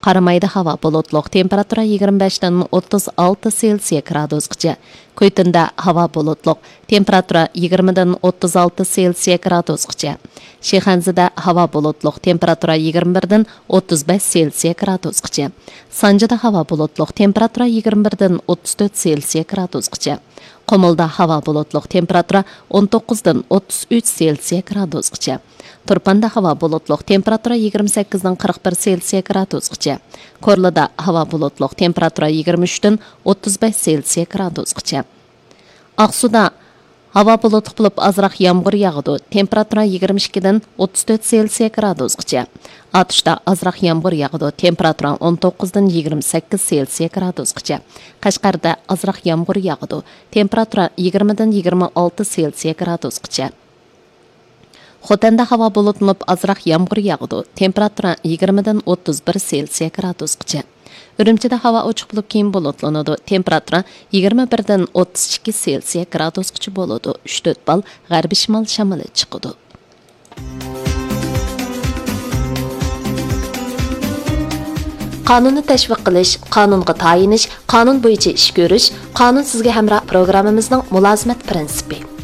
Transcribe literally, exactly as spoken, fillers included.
قارامايدا ھاۋا بۇلۇتلۇق، تېمپېراتۇرا يىگىرمە بەشتىن ئوتتۇز ئالتە سېلسىيە گرادۇسقىچە. كۈيتۇندا ھاۋا بۇلۇتلۇق، تېمپېراتۇرا يىگىرمىدىن ئوتتۇز ئالتە سېلسىيە گرادۇسقىچە. شىخەنزىدە ھاۋا بۇلۇتلۇق، تېمپېراتۇرا يىگىرمە بىردىن ئوتتۇز بەش سېلسىيە گرادۇسقىچە. سانجىدا ھاۋا بۇلۇتلۇق، تېمپېراتۇرا يىگىرمە بىردىن ئوتتۇز تۆت سېلسىيە گرادۇسقىچە. قۇمۇلدا ھاۋا بۇلۇتلۇق، تېمپېراتۇرا ئون توققۇزدىن ئوتتۇز ئۈچ سېلسىيە گرادۇسقىچە. تۇرپاندا ھاۋا بۇلۇتلۇق، تېمپېراتۇرا يىگىرمە سەككىزدىن قىرىق بىر سېلسىيە گرادۇسقىچە. كورلىدا ھاۋا بۇلۇتلۇق، تېمپېراتۇرا يىگىرمە ئۈچتىن ئوتتۇز بەش سېلسىيە گرادۇسقىچە. ئاقسۇدا ھاۋا بۇلۇتلۇق بولۇپ، ئازراق يامغۇر ياغىدۇ، تېمپېراتۇرا يىگىرمە ئىككىدىن ئوتتۇز تۆت سېلسىيە گرادۇسقىچە. ئاتۇشتا ئازراق يامغۇر ياغىدۇ، تېمپېراتۇرا ئون توققۇزدىن يىگىرمە سەككىز سېلسىيە گرادۇسقىچە. قەشقەردە ئازراق يامغۇر ياغىدۇ، تېمپېراتۇرا يىگىرمىدىن يىگىرمە ئالتە سېلسىيە گرادۇسقىچە. خوتەندە ھاۋا بۇلۇتلىنىپ، ئازراق يامغۇر ياغىدۇ، تېمپېراتۇرا يىگىرمىدىن ئوتتۇز بىر سېلسىيە گرادۇسقىچە. ئۈرۈمچىدە ھاۋا ئوچۇق بولۇپ، كېيىن بۇلۇتلىنىدۇ، تېمپېراتۇرا يىگىرمە بىردىن ئوتتۇز ئىككى سېلسىيە گرادۇسقىچە بولىدۇ، ئۈچ تۆت بال غەربىي شىمال شامىلى چىقىدۇ. قانۇننى تەشۋىق قىلىش، قانۇنغا تايىنىش، قانۇن بويىچە ئىش كۆرۈش، قانۇن سىزگە ھەمراھ پروگراممىمىزنىڭ مۇلازىمەت پىرىنسىپى.